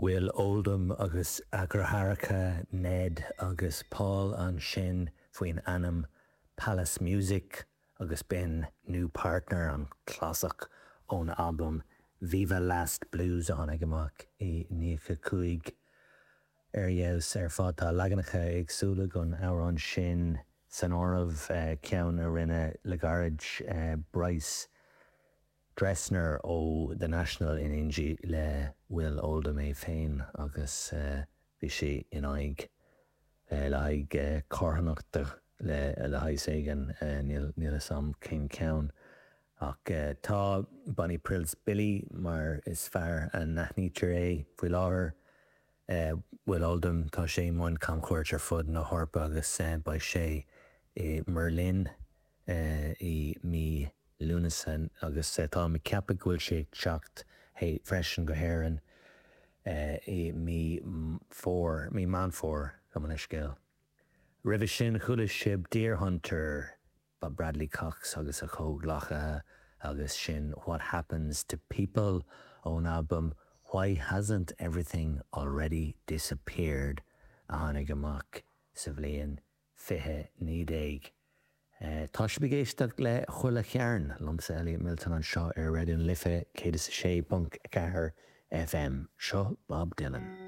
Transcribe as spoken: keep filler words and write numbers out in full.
Will Oldham agus a dheartháireacha Ned agus Paul ansin faoin ainm Palace Music agus b'in New Partner an clasach ón album Viva Last Blues a tháinig amach i nócha cúig ar fheabhas ar fad tá leaganacha éagsúla den amhrán sin san áireamh ceann a rinne le gairid Bryce Dessner ó The National in éindí le Will Oldham é féin agus bhí sé in aghaidh le haghaidh carthanachta le le haghaidh éigin níl níl a fhios agam cén ceann. Ach tá Bonnie Prince Billy mar is fearr a n-aithnítear é faoi láthair. Will Oldham tá sé i mbun camchuairt ar fud na hEorpa agus beidh sé i mBerlin i mí Lúnasa agus tá mé ag ceapadh go bhfuil sé teacht freisin go hÉirinn i mí fór mí Meán Fómhair go man scéal. Roimhe sin chuala sibh Deerhunter ba Bradley Cox agus a chomhghleacaithe agus sin What Happens to People ón album Why Hasn't Everything Already Disappeared a tháinig amach sa bhliain fiche naoi déag. Tá sibh ag éisteacht le Chuile Chearn liomsa Elliot Milton anseo ar Raidió na Life céad is a sé ponc ceathair FM. Seo Bob Dylan.